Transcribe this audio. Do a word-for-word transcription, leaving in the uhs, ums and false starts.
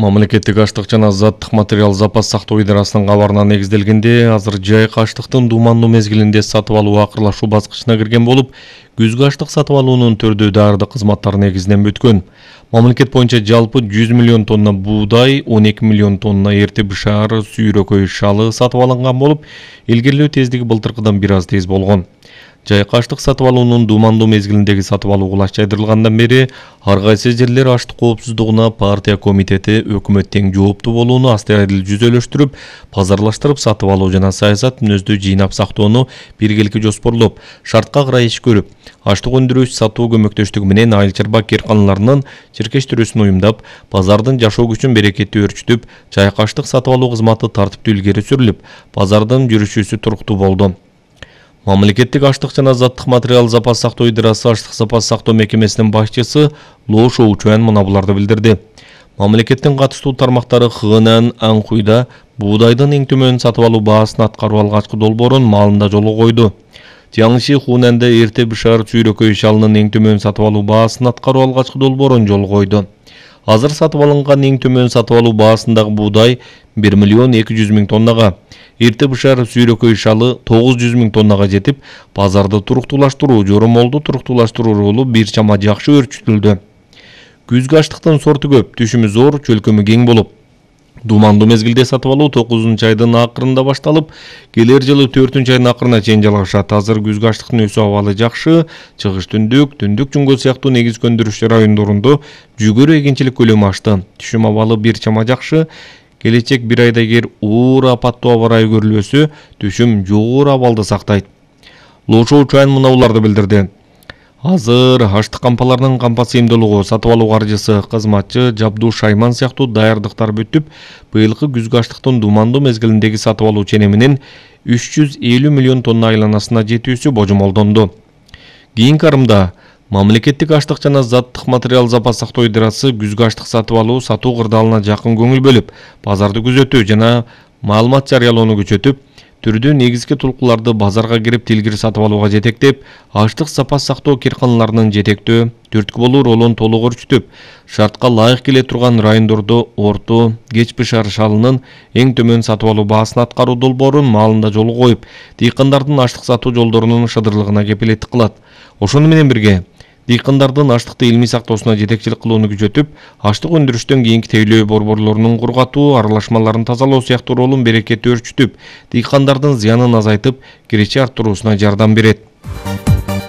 Мамлекеттик аштык жана заттык материал запас сактоо идарасынын кабарына негизделгенде, азыр жайкы аштыктын дуумандуу мезгилинде сатып алуу акырлашуу баскычына кирген болуп, күзгү аштык сатып алуунун түрдүү даардык кызматтары негизинен бүткөн. Мамлекет боюнча жалпы жүз миллион тонна буудай, он эки миллион тонна эрте бышаар, сүйрөкөй шалы сатып алынган болуп, илгерилөө тездиги былтыркыдан бир аз тез болгон. Жайкы аштык сатып алуунун дуумандуу мезгилиндеги сатып алуу кулач жайдырылгандан бери ар кайсы жерлер аштык коопсуздугуна партия комитети өкмөт тең жооптуу болууну астайдыл жүзөлөштүрүп, пазарлаштырып сатып алуу жана саясат мүнөздүү жыйнап сактоону биргеликке жоспорлоп, шартка карай иш көрүп, аштык өндүрүүчү сатуу көмөктөштүгү менен айыл чарба керканаларынын чиркештирүүсүн уюмдап, базардын жашоо күчүн берекеттүү өрчүтүп, жайкы аштык сатып алуу кызматы тартиптүү илгери сүрүлүп, базардын жүрүшүүсү туруктуу болду. Мамлекеттик аштык жана заттык материал запас сактоо идарасы аштык запас сактоо мекемесинин башчысы Лоо Шоучуан мына буларды билдирди. Мамлекеттин катыштуу тармактары Хынан Анкуйда буудайдын эң төмөн сатып алуу баасын аткаруу алгачкы долбоорун маалында жолго койду. Тиаңши Хунанда эрте бышаар сүйрөкөй шалынын эң төмөн сатып алуу баасын аткаруу алгачкы долбоорун жолго койду. Азыр сатып алынган эң төмөн сатып алуу баасындагы буудай бир миллион эки жүз миң тоннага, эрте бышаар сүйрөкөй шалы тогуз жүз миң тоннага жетип, базарды туруктуулаштыруу, жоромолду туруктуулаштыруу ролу бир чама жакшы өрчүтүлдү. Күзгү аштыктын сорту көп, түшүмү зор, чөлкөмү кең болуп, дуумандуу мезгилде сатып алуу тогузунчу айдын акырында башталып, келер жылы төртүнчү айдын акырына чейин жалгашат. Азыр күзгү аштыктын өсүү абалы жакшы, чыгыш түндүк, түндүк Жуңгө сыяктуу негизги өндүрүшчү райондорунда жүгөрү эгинчилик көлөмү ашты. Түшүм абалы бир чама жакшы. Келечек бир айда эгер оор апаттуу аба ырайы көрүлбөсө, түшүм жогору абалды сактайт. Лоо Шоучуан мына буларды билдирди. Азыр аштык кампаларынын кампа сыйымдуулугу, сатып алуу каржысы, кызматчы, жабдуу шайман сыяктуу даярдыктар бүтүп, быйылкы күзгү аштыктын дуумандуу мезгилиндеги сатып алуу ченеминин үч жүз элүү миллион тонна айланасына жетүүсү божомолдонду. Кийинки арымда Мамлекеттик аштык жана заттык материал запас сактоо идарасы күзгү аштык сатып алуу сатуу кырдаалына жакын көңүл бөлүп, базарды күзөтүү жана маалымат жарыялоону күчөтүп, түрдүү негизги тулкуларды базарга кирип тилгири сатып алууга жетектеп, аштык запас сактоо керканаларынын жетектөө, түрткү болуу ролун толук өрчүтүп, шартка ылайык келе турган райондордо орто, кеч бышаар шалынын эң төмөн сатып алуу баасын аткаруу долбоорун маалында жолго коюп, дыйкандардын аштык сатуу жолдорунун шыдырлыгына кепилеттик кылат. Ошону менен бирге дыйкандардын аштыкты илмий сактоосуна жетекчилик кылууну күчөтүп, аштык өндүрүштөн кийинки тейлөө борборлорунун кургатуу, аралашмаларын тазалоо сыяктуу ролун берекеттүү өрчүтүп, дыйкандардын зыянын азайтып, киреше арттыруусуна жардам берет.